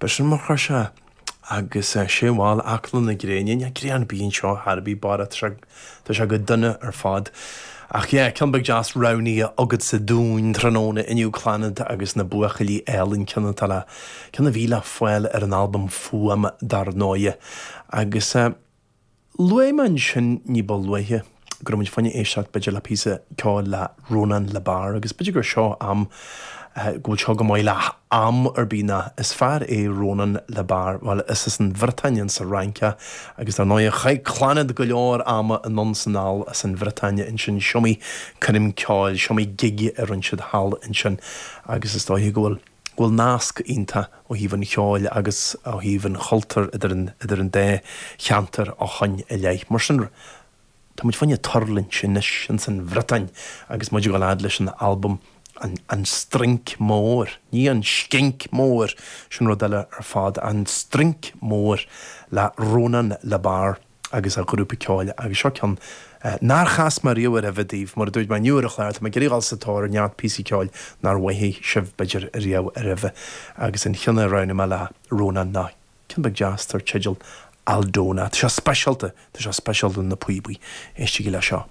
B'shin mar chuir sé agus sé bhal Acla na Gréine, níl grian ar bith anseo chor ar bith Barra, tá sé, tá sé go dona ar fad. Ach yeah, ceann beag deas roghnaithe agatsa dúinn tráthnóna inniu, Clannad agus na Buachaillí Álainn, ceann atá le, ceann a bhí le fáil ar an albam Fuaim dar ndóighe. Agus eh, Luaigh mé ansin ní ba luaithe go raibh muid fá choinne éisteacht b'fhéidir le píosa ceoil le Rónán Le Bars agus b'fhéidir gur seo am, go bhfuil seo go maith le am ar bith ná is fear é Rónán Le Bars, bhuel is as an Bhriotáin insa Fhrainc é agus dar ndóighe chaith Clannad go leor ama anonn 's anall as an Bhriotáin ansin, is iomaí coirm ceoil, is iomaí gig a rinne siad thall ansin agus is dóiche go bhfuil. go bhfuil nasc iontach ó thaobh an cheoil agus ó thaobh an chultúir idir an idir an dá cheantar ó shoin i leith. Mar sin, tá muid fá choinne tuirlingt anois ins an Bhriotáin agus muid ag dul fhad leis an albam an An Strinc Mór, ní an Scinc Mór, sin rud eile ar fad, An Strinc Mór le Rónán Le Bars. agus a ghrúpa ceoil agus seo ceann nár chas mé riamh roimhe daoibh. Mar a dúirt mé inniu ar an chlár, tá mé ag iarraidh dhul sa tóir ar neart píosaí ceoil nár mhothaigh sibh b'fhéidir riamh roimhe agus an cheann a roghnaigh mé le Rónán ná ceann beag deas dar teideal Aldona. Tá sé speisialta, tá sé speisialta do na píobaí. Éistigí le seo.